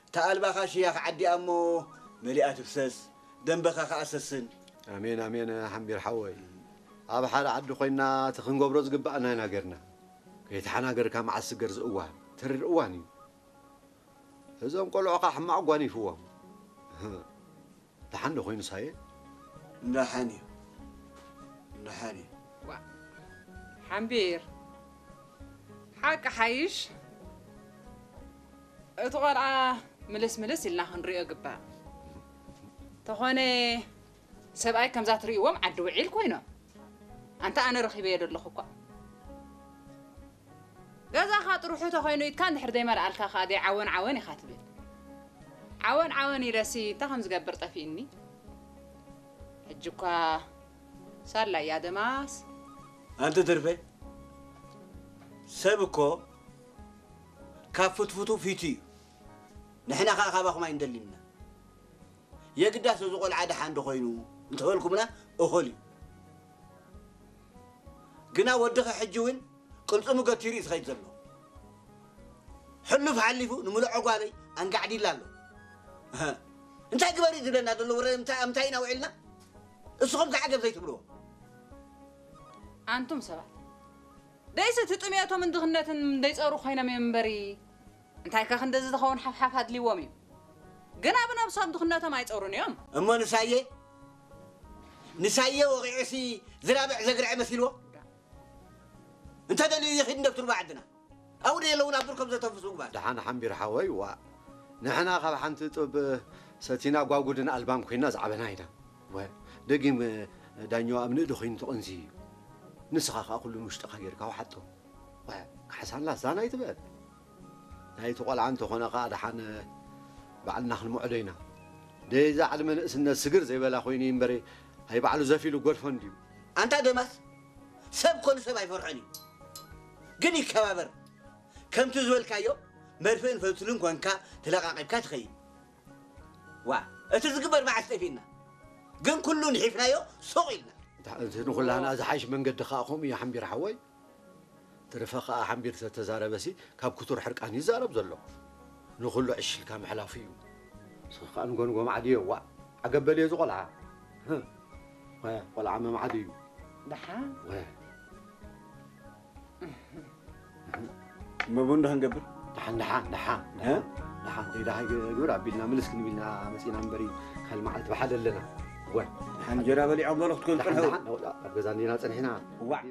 እታ ኣልባኻ ሽያ ክዓዲኣ እሞ መሊኣ ትፍሰስ፣ ደንበኻ ከኣ ሰስን። ኣሜን፣ ኣሜን፣ ሓምቢር ሓወይ። ኣብ ሓደ ዓዲ ኮይንና እቲ ክንገብሮ ዝግባኣና ኢና ጌርና። ከይተሓናገርካ መዓስ ስገር ዝእዋን፣ ተሪር እዋን እዩ። እዞም ቆልዑ ከኣ ሕማቕ ጓኒፍዎም። ደሓን ዶ ኮይኑ ሳየ? ደሓን እዩ። ደሓን እዩ። ዋ፣ ሓምቢር። ሓቂ ሓይሽ። እቲ ቆልዓ ምልስ ምልስ ኢልና ክንሪኦ ግባእ። ተኾነ ሰብኣይ ከምዛ ትርእይዎም ዓዲ ውዒል ኮይኖም። ኣንታ ኣነ ረኺበዮ ዘለኹ እኳ። ገዛኻ ጥርሑ ተኾይኑ ኢድካ እንድሕር ዘይመልኣልካ ከኣ ደይ ዓወን ዓወን ኢኻ ትብል። ዓወን ዓወን ኢለሲ እንታይ ከም ዝገብር ጠፊእኒ። ሕጂ እኳ ሳላ እያ ደማስ። ኣንቲ ትርፌ፣ ሰብ እኮ ካብ ፍትፍቱ ፊቱ እዩ። ንሕና ከኣ ካባኹም ኣይንደልን ኢና። የግዳስ እዚ ቆልዓ ደሓን ዶ ኮይኑ እንተበልኩምና እኹል እዩ። ግና ወድኺ ሕጂ እውን ቅልጽሙ ገቲሩ እዩ ዝኸይድ ዘሎ። ሕሉፍ ሓሊፉ ንምሉእ ጓለይ ኣንጋዕዲላ ኣሎ። እህ፣ እንታይ ግበሪ ዝብለና ዘሎ ወረ እንታይ፣ እንታይ ኢና ውዒልና? እስኹም ከ ዓገብ ዘይትብልዎ? ኣንቱም ሰባት፣ ደይሲ እቲ ጥሜቶምን ድኽነትን ደይጸሩ ኮይኖም እዮም እምበሪ፣ እንታይ ከ ክንደዚ ዝኸውን ሓፍሓፍ ኣድልዎም እዩ? ግና ብነብሶም ድኽነቶም ኣይጸሩን እዮም። እሞ ንሳየ፣ ንሳየ ወቒዑሲ ዝራብዕ ዘግርዐ መሲልዎ? እንተ ደልዩ ይኺድ እንደ ብትርባ ዓድና። ኣብኡ ደየለውን ኣብ ብርኮም ዘተንፍሱ ምግባር። ደሓን ሓምቢር ሓወይ፣ ዋ። ንሕና ካብ ሓንቲ ጡብ ሰቲና ጓጉድን ኣልባን ኮይና ዝዓበና ኢና። ወ-፣ ደጊም ዳኛዋ ኣብ ንእዲ ኮይኑ ተቐንዚ እዩ። ንስኻ ከኣ ኩሉ ንውሽጥኻ ጌርካ ውሓጦ። ወ-፣ ካሕሳን ላዛን ኣይትበል። ናይቲ ቆልዓ እንተኾነ ከኣ ደሓን ባዕልና ክንምዕዶ ኢና። ደይዛ ዕድመ ንእስነት ስግር ዘይበላ ኮይኑ እዩ እምበረ፣ ኣይ ባዕሉ ዘፊሉ ጎድፎ እንድዩ። ኣንታ ደማስ፣ ሰብ ኮኑ ሰብ ኣይፈርሖን እዩ። ግን ይከባበር። ከምቲ ዝበልካዮ መርፍእን ፈትልን ኮንካ ተለቃቂብካ ትኸይድ። ዋ፣ እቲ ዝግበር መዓስ ጠፊእና። ግን ኩሉ ንሒፍናዮ ሱቕ ኢልና። እንታ-፣ እቲ ንኹላህና ዝሓይሽ መንገዲ ከኣ ከምኡ እዩ ሓምቢር ሓወይ። ትርፈ ከኣ ሓምቢር ተተዛረበሲ ካብ ክቱር ሕርቃን ይዛረብ ዘሎ። ንኹሉ ዕሽልካ ምሕላፉ እዩ። ንስኺ ከኣ ንጎንጎ ማዕድዮ፣ ዋእ፣ ዓገብ በልዮ እዚ ቆልዓ። ህም። ወ-፣ ቆልዓ መማዕዲ እዩ። ደሓን። ወ-፣ እሞ ቡን ዶ ክንገብር? ደሓን፣ ደሓን፣ ደሓን፣ እ? ደሓን። ደሓን፣ ዘይደሃይ ግብር ኣቢልና ምልስ ክንቢልና መጺና እምበሪ፣ ካልእ መዓልቲ ብሓደ ኣለና። ወ-፣ ደሓን እንጀራ በሊዖም በሉ ክትኮኑ ደሓን፣ ጽንሑ። ደሓን፣ ኣብ ገዛ እንዲና ጸኒሕና። ዋእ።